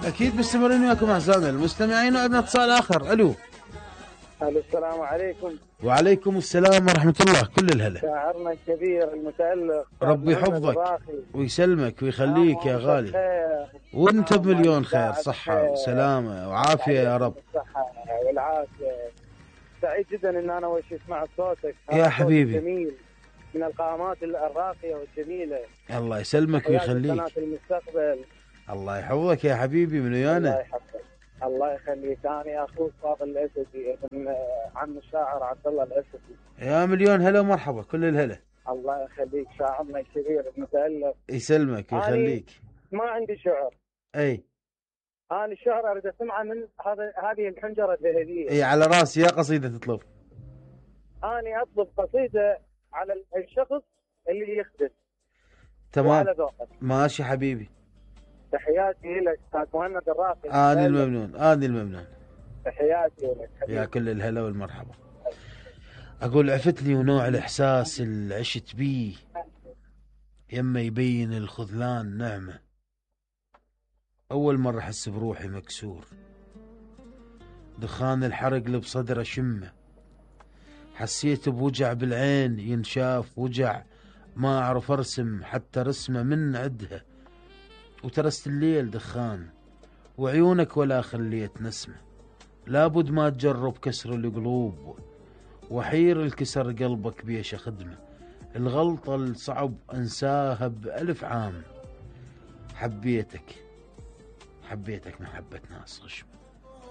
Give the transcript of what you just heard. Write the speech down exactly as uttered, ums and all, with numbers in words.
اكيد مستمرين وياكم اعزائنا المستمعين. وعندنا اتصال اخر. الو. الو السلام عليكم. وعليكم السلام ورحمه الله. كل الهلا. شاعرنا الكبير المتألق ربي يحفظك ويسلمك ويخليك يا غالي، وانت بمليون خير، صحه وسلامه وعافيه يا رب. الصحه والعافيه. سعيد جدا ان انا وش اسمع صوتك يا حبيبي. جميل من القامات الراقيه والجميله. الله يسلمك ويخليك. قناة المستقبل. الله يحفظك يا حبيبي من ويانا. الله يحفظك. الله يخليك. انا اخوك فاضل الاسدي من عم الشاعر عبد الله الاسدي. يا مليون هلا ومرحبا. كل الهلا. الله يخليك شاعرنا الكبير المتألق. يسلمك ويخليك. ما عندي شعر. اي انا الشعر اريد اسمعه من هذا هذه الحنجره الذهبيه. اي على راسي. يا قصيده تطلب؟ انا اطلب قصيده على الشخص اللي يخدم. تمام ماشي حبيبي. تحياتي لك استاذ مهند الراقي. اني الممنون اني الممنون. تحياتي لك حبيبي. يا كل الهلا والمرحبا. اقول عفتني ونوع الاحساس اللي عشت بيه يما يبين الخذلان نعمه. اول مره احس بروحي مكسور، دخان الحرق اللي بصدره شمه. حسيت بوجع بالعين ينشاف، وجع ما اعرف ارسم حتى رسمه من عدها. وترست الليل دخان وعيونك ولا خليت نسمه. لابد ما تجرب كسر القلوب وحير الكسر قلبك بيش خدمه. الغلطة الصعب انساها بألف عام. حبيتك حبيتك محبة ناس غشمة.